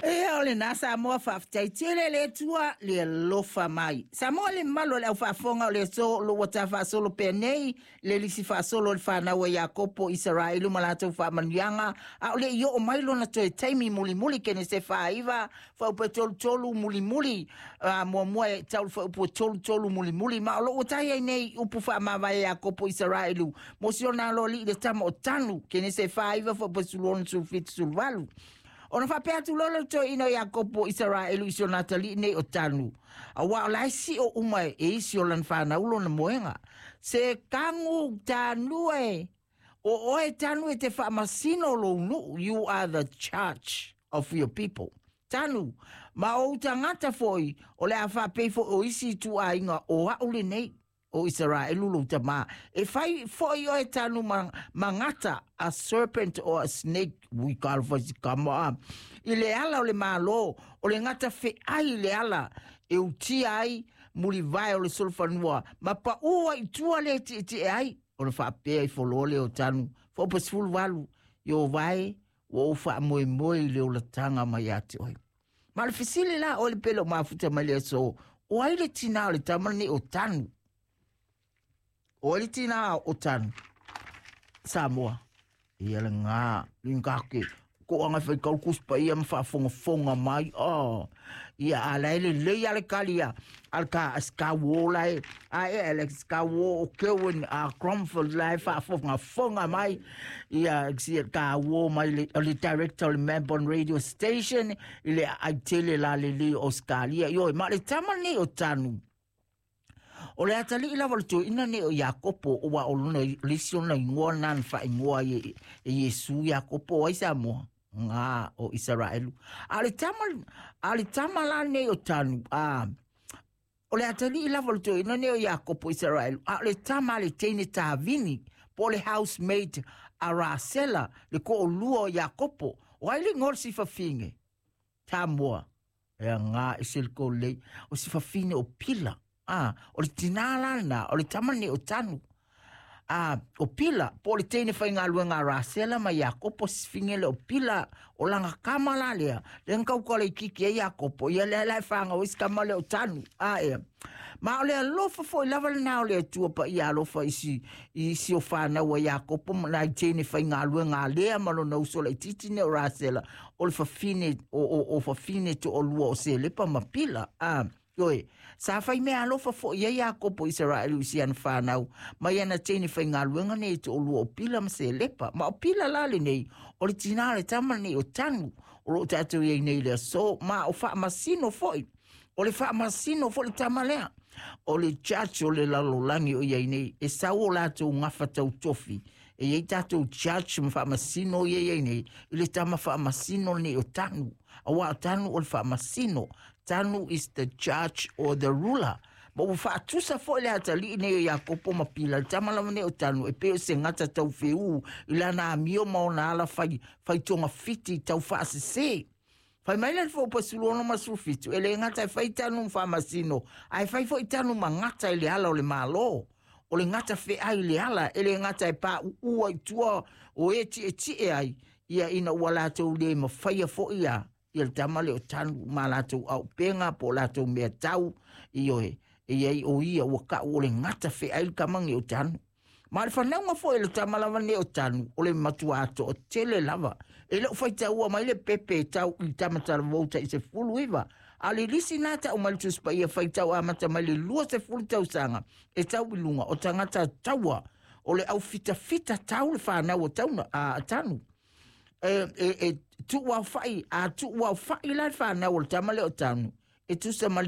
Ia o lena Samoa, faafetai tele le Atua le alofa mai. Samoa le mamalu o le aufaafofoga o le aso o lo ua tafaasolo pea nei le lisi faasolo o le fanau a Iakopo Isaraelu ma latou faamanuiaga a o le i oo mai lona toe taimi mulimuli Kenese 49 fuaiupu e 33 mulimuli muamua e tau le fuaiupu e 33 mulimuli ma o lo ua tai ai nei upu faamavae a Iakopo Isaraelu mo si ona aloalii le tama o Tanu Kenese 49 fuaiupu e 16 17 18. Ona faapea atu loa le toeaina o Iakopo Isaraelu i si ona atalii nei o Tanu, aua o la e sio uma e isi o lana fanau lona moega. Se kagu Tanu e, o oe Tanu e te faamasino lou nuu, you are the judge of your people. Tanu, ma o ou tagata foi, o le a faapei foi o isi ituaiga o au lenei. O Isaraelu lou tamā. E fai foi oe tanu ma, ma gata, a serpent or a snake, ui talofa i si kama a. I le ala o le Malo, o le gata feai i le ala e utia ai mulivae o le solofanua, ma paʻū ai i tua le tietie ai, ona faapea ifo loa lea o tanu, fuaiupu e 18, Ieova e, ua ou faamoemoe i le olataga mai ia te oe. Ma o le fesili la oe le pele o mafuta mai le aso, o ai le tinā o le tama lenei o Tanu? O ai le tinā o Tanu? Samoa. Ia le ngā, lingake, ko anga whai kau kuspa ia ma whaafongafonga mai. Oh. Ia a la ele lei ale kali a al ka ska wo lai a e Alex ka wo o Kerwin a Cromford lai whaafongafonga mai. Ia si ka wo mai le, le director o le Melbourne Radio Station i le ai tele la le le Australia. Ioe, ma le tama nei o Tanu. O le atalii lava o le toeaina nei o Iakopo, ua o lona le isi ona igoa na na faaigoa ai e, e Iesu Iakopo o ai Samoa ngā o Isaraelu. A le tama, a le tama la nei o Tanu, a, o le atalii lava o le toeaina nei o Iakopo Isaraelu, a o le tama a le teine tāvini, po o le housemaid a Rasela, le ko'olua o Iakopo. O ai le igoa o le sifafine? Samoa. E ngā e se le lei. O sifafine o Pila. A, o le tinā la lena, o le tama nei o Tanu. A, o Pila, po o le teine faigaluega a Rasela ma Iakopo sifine le o Pila, o lana kama la lea, le na kaukala i kiki ai Iakopo, ia lea la e whāngau ai si kama lea o Tanu. A, ea. Ma o le alofa foi lava lena o le Atua paia alofa i si, i isi o whānau a Iakopo ma nai teine faigaluega a Lea ma lona uso laitiiti nei o Rasela, o le fafine, o, o, o fafine toalua o Selepa ma Pila. A, Ioe, sa fai mea alofa foi ai Iakopo Isaraelu i si ana whānau, mai ana teine faigaluega nei e toalua o Pila ma Selepa. Ma o Pila la lenei, o le tinā o le tama lenei o Tanu, o lo o tātou i ai nei i le aso, ma o Faamasino foi. O le Faamasino foi le tama lea. O le judge o le lalolagi o i ai nei, e sau o latou gafa tautofi, e i ai tātou judge ma Faamasino ia i ai nei, i le tama Faamasino lenei o Tanu. Aua o Tanu o le Faamasino. Tanu is the judge or the ruler. Ma ua faatusa foi le atalii nei o Iakopo ma Pila, le tama lava nei o Tanu, e pei o se gata tau feū i lana amio ma ona ala fai, fai togafiti tau faasesē. Fai mai la le fuaiupu 16 ma 17, e le gata e fai Tanu ma Faamasino, ae fai foi Tanu ma gata i le ala o le Malo. O le gata feai i le ala, e le gata e paʻuʻu ai i tua o e tietie ai, ia ina ua latou le mafaia foi a ia le tama lea o Tanu ma latou auupega po o latou mea tau, ioe, e i ai o ia ua ka'u o le gata feai le tama nei o Tanu. Ma le fanauga foi le tama lava nei o Tanu, o le matuā toatele lava. E le o faitaua mai le pepe e tau i tama talavou tai 19, a o le lisi na ta'u mai le Tusi Paia faitau amata mai le 20 tausaga e tau i luga o tagata taua o le aufitafita tau le fanau o tauna a Tanu. E, e, e tuu aofa'i, a tuu aofa'i la le fanau o le tama lea o Tanu, e tusa ma